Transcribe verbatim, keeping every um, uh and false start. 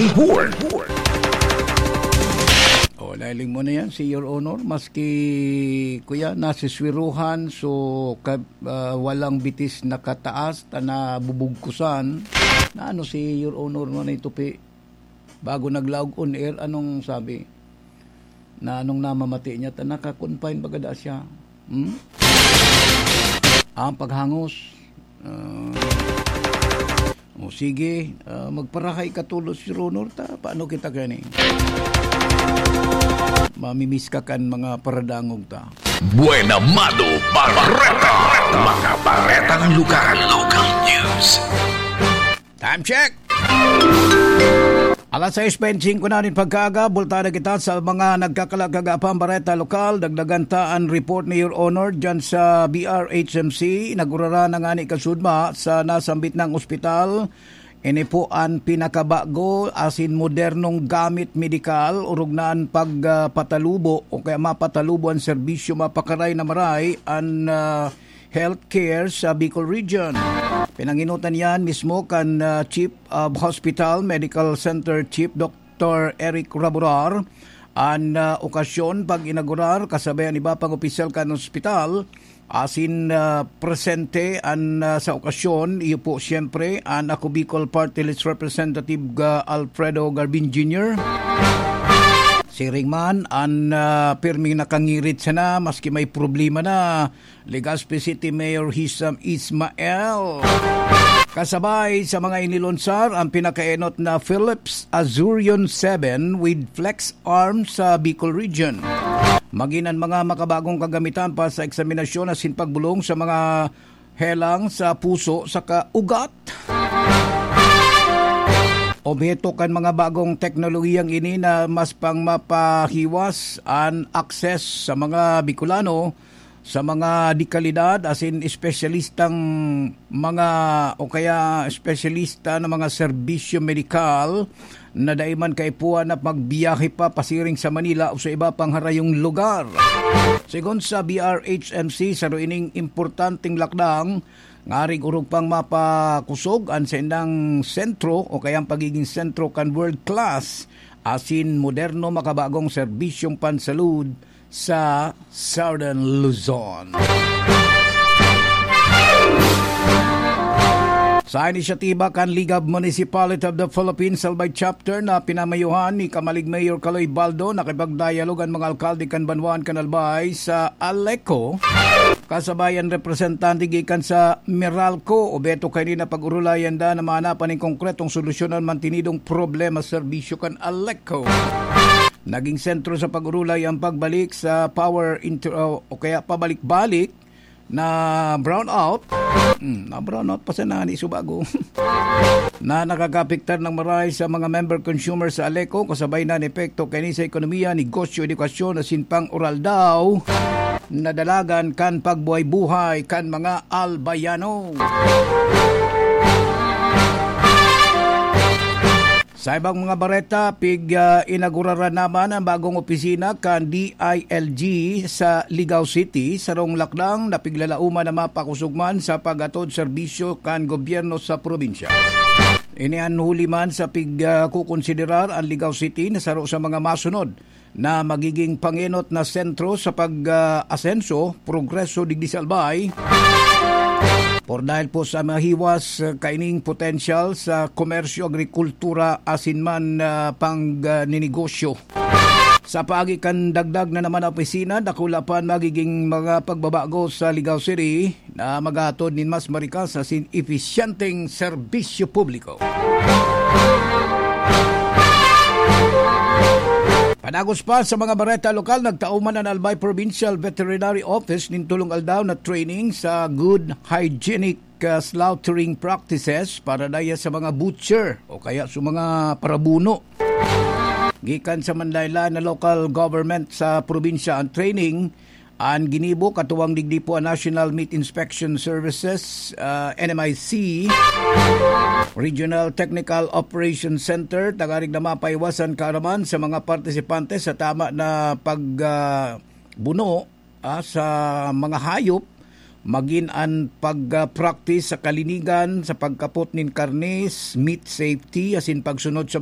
Report. Oh, nailing mo na yan, si Your Honor. Maski, kuya, nasiswiruhan, so, ka, ah, walang bitis nakataas, ta nabubugkusan. Na ano si Your Honor mo na itupi? Bago naglaog on air, anong sabi? Na anong namamati niya? Ta naka-confine baga da siya. Hmm? Ang paghangos. Ah, o sige, ah, magparahay ka tulos, Your Honor, ta paano kita gani? Mamimiss ka kan mga paradangog ta. Buena Mano Bareta. Mga baretang lokal. Local news. Time check! Alas sais bente singko na nin pagkaaga, bultahan na kita sa mga nagkakalagkagapang bareta lokal. Dagdagan ta an report ni Your Honor dyan sa B R H M C. Nagurara na ngani kasudma sa nasambit nang ospital. Ini po an pinakabago asin modernong gamit medikal, orog na an pagpatalubo o kaya mapatalubo an serbisyo mapakaray na maray an, ah, healthcare sa Bicol Region. Pinanginutan yan mismo kan, ah, Chief of Hospital Medical Center Chief Doctor Eric Raburar. An, ah, okasyon pag-inaugurar kasabay an iba pang opisyal kan ospital asin, ah, presente an, ah, sa okasyon, iyo po siyempre an Ako Bicol Party List Representative, ah, Alfredo Garbin Junior. Siring man an, ah, pirming nakangirit sana maski may problema na, Legazpi City Mayor Hisam Ismael. Kasabay sa mga inilunsar, ang pinakaenot na Philips Azurion seven with flex arm sa Bicol Region. Magin an mga makabagong kagamitan pa sa eksaminasyon asin pagbulong sa mga helang sa puso saka ugat. Obheto kan mga bagong teknolohiyang ini na mas pang mapahiwas an access sa mga Bicolano sa mga dekalidad, asin espesyalistang mga, o kaya espesyalista na mga serbisyo medikal na dai man kaipuhan na magbiyahe pa pasiring sa Manila o sa iba pang harayong lugar. Sigon sa B R H M C, saro ining importanteng lakdang ngaring orog pang mapakosog an saindang sentro o kaya ang pagiging sentro kan world class asin moderno makabagong serbisyong pansalud sa Southern Luzon. Sa inisyatiba kan League of Municipality of the Philippines, Albay Chapter, na pinamayuhan ni Kamalig Mayor Kaloy Baldo, nakipagdialog an mga alkalde kan banwaan kan Albay sa ALECO, kasabay an representante gikan sa Meralco. Obheto kaini na pag-orolayan da na maanapan nin konkretong solusyon an mantinidong problema serbisyo kan ALECO. Naging sentro sa pag-orolay ang pagbalik sa power inter-, o kaya pabalik-balik na brownout. Hmm, na brownout pa sana ni subago. Na nakakapektar ng maray sa mga member consumer sa ALECO, kasabay na ng epekto kaini sa ekonomiya, negosyo, edukasyon, asin pang oral daw na dalagan kan pagbuhay-buhay kan mga Albayano. Sa ibang mga bareta, pig, ah, inaguraran naman ang bagong opisina kan D I L G sa Ligao City, sarong lakdang na piglalauman na mapakosog man sa pag-atod serbisyo kan gobyerno sa probinsya. Ini an huli man sa pig, ah, kukonsiderar ang Ligao City na saro sa mga masunod na magiging pangenot na sentro sa pag, ah, asenso, progreso digdi sa Albay. Por dahil po sa mahiwas, ah, kaining potensyal sa komersyo, agrikultura, asin man, ah, pang, ah, ninegosyo. Sa paagi kan dagdag na naman na opisina, dakula pa an magiging mga pagbabago sa Ligao City na maghatod nin mas marikas asin episyenteng serbisyo publiko. Padagos pa sa mga bareta lokal, nagtao man an Albay Provincial Veterinary Office nin tolong aldaw na training sa good hygienic, ah, slaughtering practices para daya sa mga butcher o kaya sa mga parabuno. Gikan sa manlaen-laen na local government sa probinsya ang training, an ginibo, katuwang digdi po an National Meat Inspection Services, ah, N M I C, Regional Technical Operations Center, tanganing na mapaiwasan kaaraman sa mga partisipante sa tama na pag, ah, buno, ah, sa mga hayop, magin an pag, ah, practice sa kalinigan, sa pagkapot nin karnes, meat safety, asin pagsunod sa